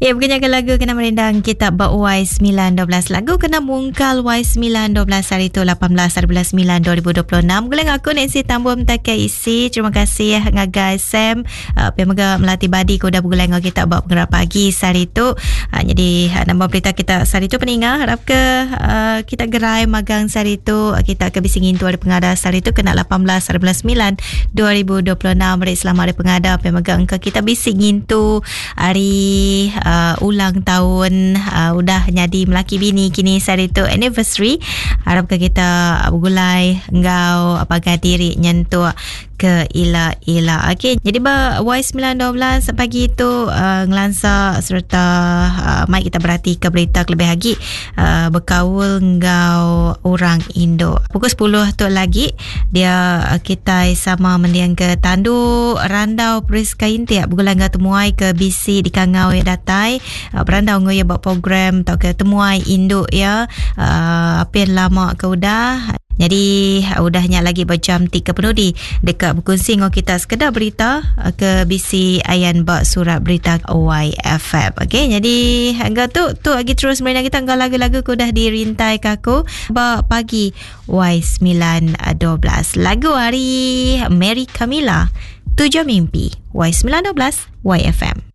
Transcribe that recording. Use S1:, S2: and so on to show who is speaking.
S1: Ya, bukannya ke lagu kena merindang kita ba Y912. Lagu kena mungkal Y912 hari tu 18 hari bulan 9 2026. Gulai aku Nancy Tambum tak isi. Terima kasih ngagai Sam. Uh, pia mega melati badi ke udah begulai enggau kita ba pengerak pagi sehari tu. Uh, jadi uh, nama berita kita sehari tu peninga harap ke uh, kita gerai magang sehari tu. Uh, kita ke bisi ngintu hari pengada sehari tu kena 18 hari bulan 9 2026. Meri selamat hari pengada. Pia mega engka kita bisi ngintu Hari uh, ulang tahun uh, udah nyadi melaki bini kini sehari tu anniversary. Harap ke kita begulai enggau pagai diri nyentuk ke ila-ila. Okey, jadi ba Y912 pagi tu uh, ngelansa serta uh, mai kita berhati ke berita kelebih lagi uh, bekaul enggau orang Indo. Pukul 10 tu lagi Dia kitai sama mending ke tandu randau Priska Intik begulai enggau temuai ke bisi dikangau iya datai berandau enggau iya ba program tauka temuai indu iya apin lama ke udah. Nyadi udah nya lagi ba jam ti ke penudi deka bekunsi enggau kita sekeda berita ke bisi ayan ba surat berita YFM. Okey nyadi enggau tu tu agi terus merindang kita enggau lagu-lagu ke udah dirintai ka aku ba pagi Y912. Lagu ari Mary Camilla, Tujuh Mimpi, Y912, YFM.